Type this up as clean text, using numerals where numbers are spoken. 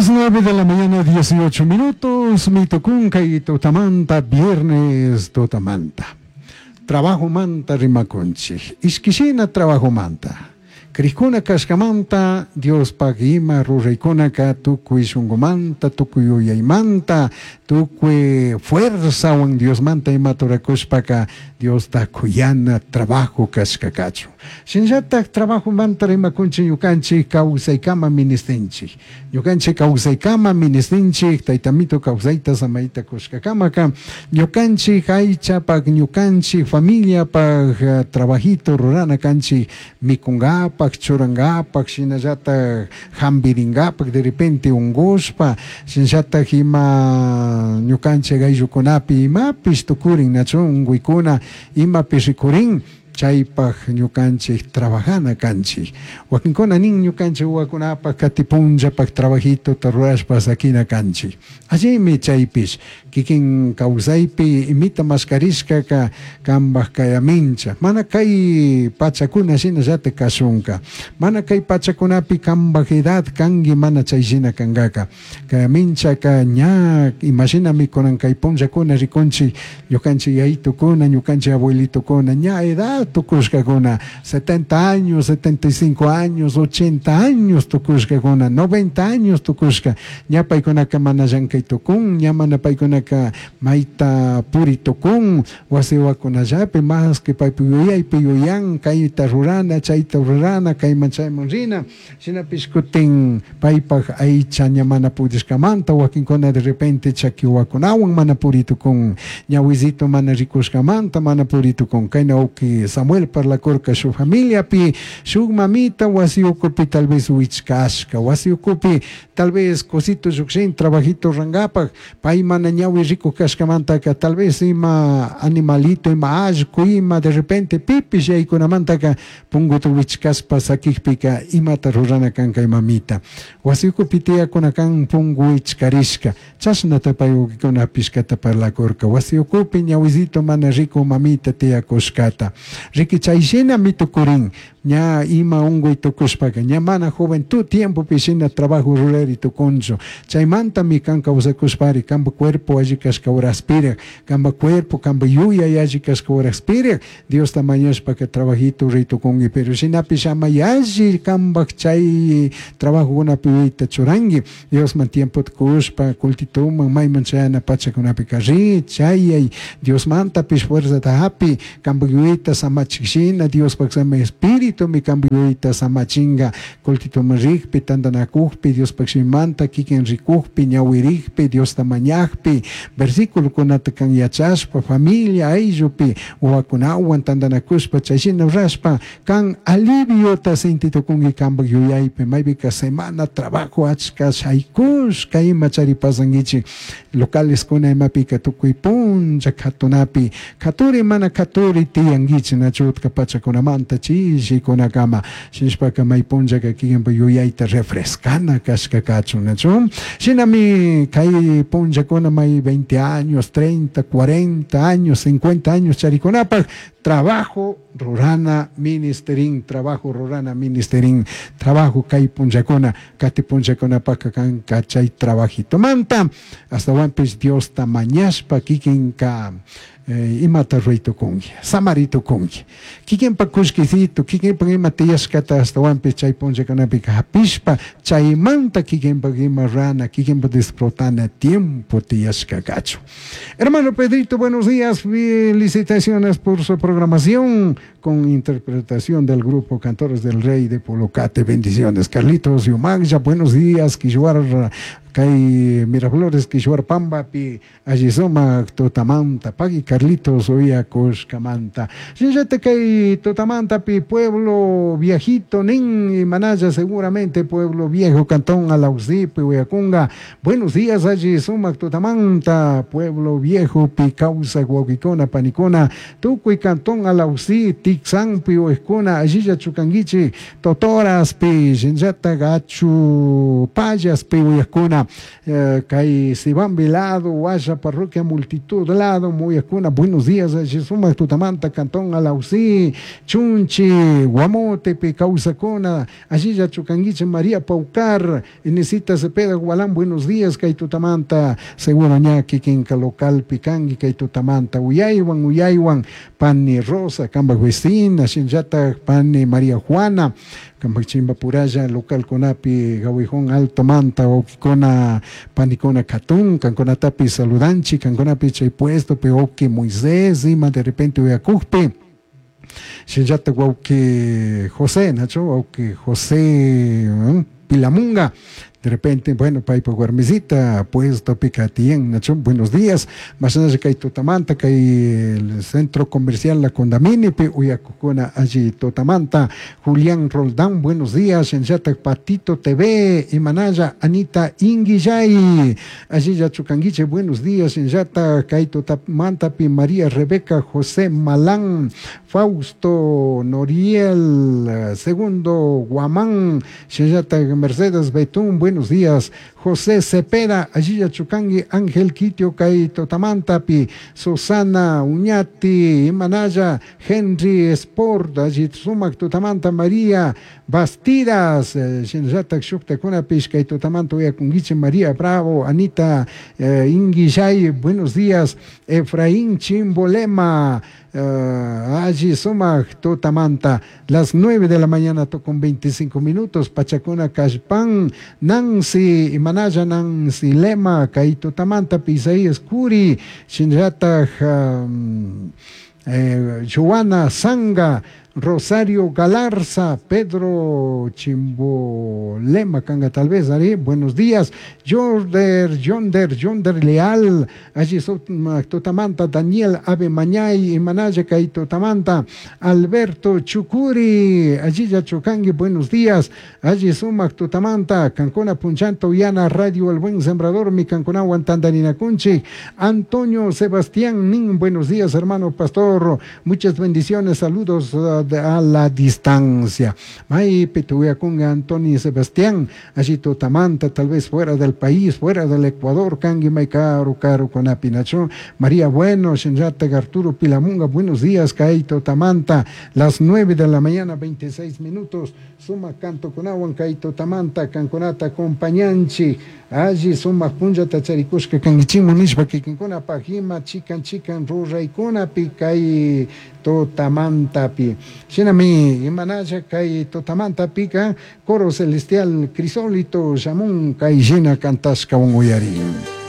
Las 9 de la mañana, 18 minutos, mitukunka y tutamanta, viernes tutamanta. Trabajo manta rimakunchik. Ishkishina trabajo manta. Crijkuna kashkamanta, Diospaj ima ruraykunaka tukuy shunkumanta, tukuy yuyaymanta, tukuy fuerzawan Diosmanta ima turakushpaka Diosta kuyana trabajo kashka kachun. Shinallatak trabajomanta rimakunchik ñukanchik kawsaykama ministinchik. Ñukanchik kawsaykama ministinchik, taytamito kawsayta samayta kushkakamaka, ñukanchik aychapak, ñukanchik familiapak trabajito rurana kanchik, mikungapak, churangapak, shinallatak hampiringapak, de repente ungushpa, shinallatak ima ñukanchik ayllukunapi imapish tukurin, nachu unguykuna imapish rikurin, chaypak ñukanchik trabajana kanchik. Wakinkuna nin ñukanchik wawakunapak katipunllapak trabajitota rurashpa sakina kanchik. Allimi chaypish kikin kawsaypi imita maskarishkaka kanpak kayamincha. Mana kay pachakuna shinallatak kashunka. Mana kay pachakunapi kanpak edad kanki mana chay shina kankaka. Kayaminchaka ña imashinami kunan kay punllakuna rikunchik ñukanchik yayitukuna, ñukanchik abuelitukuna ña edad tukushkakuna 70 años, 75 años, 80 años tukushkakuna, 90 años tukushka. Ña paykunaka mana llankay tukun, ña mana paykunaka mayta puri tukun, wasi wawakunallapi más que paypi yuyaypi yuyan kayta rurana, chayta rurana, kayman chayman rina. Shinapish kutin paypak aycha ña mana pudishkamanta wakinkuna de repente chaki wawakunawan mana puri tukun, ñawisito mana rikushkamanta mana puri tukun. Kayna uki Samuel parlakurka shuk familiapi, shuk mamita wasi ukupi tal vez wichkashka, wasi ukupi tal vez cosito llukshin trabajito rangapak, pay mana ñawi rikuk kashkamantaka tal vez ima animalito, ima allku, ima de repente pipish yaykunamantaka punguta wichkashpa sakikpika imata rurana kan kay mamita. Wasi ukupi tiyakuna kan pungu wichkarishka, chashnata pay ukikuna pishkata parlakurka. Wasi ukupi ñawisito mana riku mamita tiyakushkata. Riki chay shinami tukurin, ña ima unkuy tukushpaka, ña mana juventud tiempopi shina trabajo rurari tukunchu. Chaymantami kan kawsakushpari, kanpa cuerpo alli kashka horaspirak, kanpa cuerpo, kanpa yuyay alli kashka horaspirak, Diosta mañashpaka trabajito ruray tukunki, pero shinapish ama yalli kanpak chay trabajokunapi yuyayta churanki, Diosman tiempota kushpa, cultituman, mayman chayana pachakunapika ri, chayay, Diosmantapish fuerzata hapi, kanpak yuyayta samachik shina, Diospak sama espiritumi kanpak yuyayta samachinka, cultituman rikpi, tantanakukpi, Diospak shimimanta kikin rikukpi, ñawirikpi, Diosta mañakpi, versículokunata kan yachashpa, familia ayllupi, wawakunawan tantanakushpa, chay shina rurashpa, kan aliviota sentitukunki kanpak yuyaypi, maypika semana trabajo achka shaykushka ima chari pasankichik, localeskuna imapika tukuy punlla katunapi, katuri mana katuri tiyankichik, nachu utka pachakunamanta chishikunakama, shinashpaka may punllaka kikinpak yuyayta refrescana kashka kachun, nachu? Shinami kay punllakuna may 20 años, 30, 40 años, 50 años charikunapak, trabajo rurana ministerin, trabajo rurana ministerin, trabajo kay punllakuna, kati punllakunapaka kanka chay trabajitomanta, astawanpish Diosta mañashpa kikinka imata ruray tukunki, samari tukunki. Kikinpak kullkisito, kikinpak ima tiyashkata astawanpish chay punllakunapika hapishpa, chaymanta kikinpak ima rurana, kikinpak disfrutana tiempo tiyashka kachun. Hermano Pedrito, buenos días, felicitaciones por su programación con interpretación del grupo Cantores del Rey de Polocate. Bendiciones. Carlitos Yumagya, buenos días. Quishuar, Kay Miraflores, Quishuar Pambapi, Allisoma, Totamanta, Pagui Carlitos, Oya Coscamanta. Shinllata kay Totamanta, pi pueblo viejito, nin Manaya, seguramente pueblo viejo, Cantón Alausipi, Uyacunga. Buenos días, Allisoma, Totamanta, pueblo viejo, Picausa, Guaquicona, Panicona, Tucuy, Cantón Alausí, Tixampi, Oescona, Allilla, Chucanguichi, Totoras, pi, Shinllata, Gachu, Payas, pi, Uyacuna, kay Sibambi lado, Guaya, parroquia, multitud lado, Muyacuna. uyakukuna, buenos días, alli sumak tutamanta, Cantón Alausí, Chunchi, Guamotepi kawsakuna, allillachu kankichik María Paucar, Inesita Cepeda Gualán, buenos días, kay tutamanta, seguro ña kikinka localpi kanki kay tutamanta, uyaywan, uyaywan, pani Rosa, kambak vecina, shinallatak pani María Juana, kambak chimbapuralla localkunapi Gawijón Alto manta wawkikuna panikuna katun, kankunatapi saludanchik, kankunapi chay puestopi wawki Moisés, ima de repente uyakukpi, shinallatak wawki José, nachu, wawki José Pilamunga, de repente, bueno, paypa warmisita puestopi katiyan, nachu, buenos días, mashnalla kay tutamanta, kay el centro comercial La Condaminipi uyakukuna alli tutamanta, Julián Roldán, buenos días, shinallatak Patito TV, imanalla, Anita Inguillay, allilla chukanguiche, buenos días, shinallatak kay tutamantapi María Rebeca José Malán, Fausto Noriel, Segundo Guamán, shinallatak Mercedes Betún, buenos días, José Cepeda, allilla chukangi, Ángel Quitio, kay tutamantapi, Susana Uñati, Imanaya, Henry Sport, allí sumak tutamanta, María Bastidas, shinallatak shuktakunapish, kay tutamanta uyakunguiche, María Bravo, Anita Inguillay, buenos días, Efraín Chimbolema, allí sumak tutamanta, las 9 de la mañana con 25 minutos, Pachacuna Cashpan, Nancy, Imanaya Nancy Lema, kay tutamanta, Isaías Curi, shinallatak Joana Zanga, Rosario Galarza, Pedro Chimbolema, Canga tal vez, Ari, buenos días, Jorder, Yonder, Yonder Leal, allí Totamanta, Daniel Ave Mañay, Imanaya Kaito Tamanta, Alberto Chucuri, allí Yachucangui, buenos días, allí Sumac Totamanta, Cancona Punchanto, Uyana, Radio El Buen Sembrador, mi Cancona Guantandarina Cunchi, Antonio Sebastián Nin, buenos días, hermano pastor, muchas bendiciones, saludos a la distancia. May Petuya con Antonio Sebastián, allí Totamanta, tal vez fuera del país, fuera del Ecuador, Kangui May Caro, Caro con Apinacho, María Bueno, Shenjata Arturo Pilamunga, buenos días, Kaito Tamanta, las 9 de la mañana, 26 minutos, suma canto con agua, Kaito Tamanta, Canconata, compañanchi, allí suma punja tacharikushka, kangichimu nishpa, kikinkuna pajima, chikan, chikan, ruraykuna, pi, kay Totamantapi. Shinami, imanaya, kay Totamanta pica, coro celestial, crisólito, shamun, kay shina cantashka un uyari.